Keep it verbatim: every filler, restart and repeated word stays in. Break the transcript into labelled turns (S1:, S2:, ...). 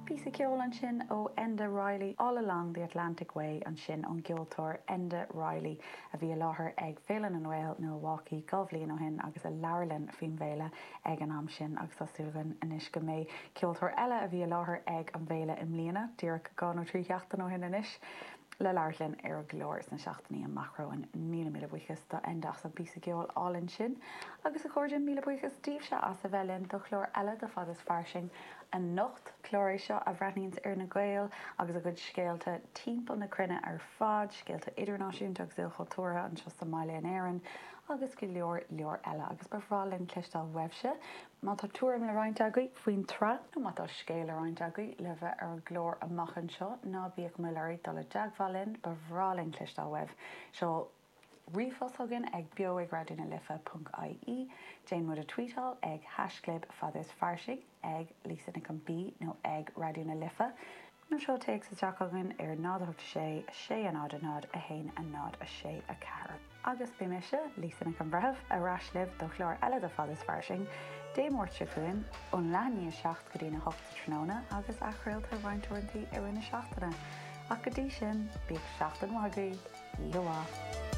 S1: Píosa ceoil ansin ó Enda Reilly All Along the Atlantic Way ansin ón gceoltóir Enda Reilly a bhí i láthair ag Féile na nGael Milwaukee dhá bhliain ó shin agus a labhair linn faoin bhféile ag an am sin agus tá súil againn anois go mbeidh ceoltóir eile a bhí i láthair ag an bhféile i mbliana díreach dhá nó trí sheachtain ó shin anois. le labhairt linn ar an gclár sna seachtainí amach romhainn míle míle buíochas do Enda as an bpíosa ceoil álainn sin, agus a chairde míle buíochas daoibhse as a bheith linn do chlár eile de Fad is Fairsing anocht clár é seo a bhreathnaíonns ar na Gaeil agus a gcuid scéalta timpeall na cruinne ar fad, scéalta idirnáisiúnta agus ilchultúrtha anseo sa mbaile in Éirinn, agus go leor leor eile agus ba bhreá linn cloisteáil uaibhse. Má tá tuairim le roinnt agaibh faoin tsraith nó má tá scéal le roinnt agaibh le bheith ar an gclár amach anseo ná bíodh moill oraibh dul i dteagmháil linn ba bhreá linn cloisteáil uaibh. Seol ríomhphost chugainn ag beo ag Raidió na Life ponc IE, Déan muid a tweetáil ag haischlib fad is fairsing ag Lisa Nic an B nó ag Raidió na Life. Nó seol téacs isteach chugainn ar náid a hocht sé sé a náid a náid a haon a náid a sé a ceathair. Agus beidh mise, Lisa Nic an Bhreithimh, ar ais libh do chlár eile de Fad is Fairsing, Dé Máirt seo chugainn ón leath i ndiaidh a seacht go dtí'n a hocht sa tráthnóna agus athchraolta roinnt uaireanta i rith na seachtaine. Ach go dtí sin, bíodh seachtain mhaith agaibh, oíche mhaith.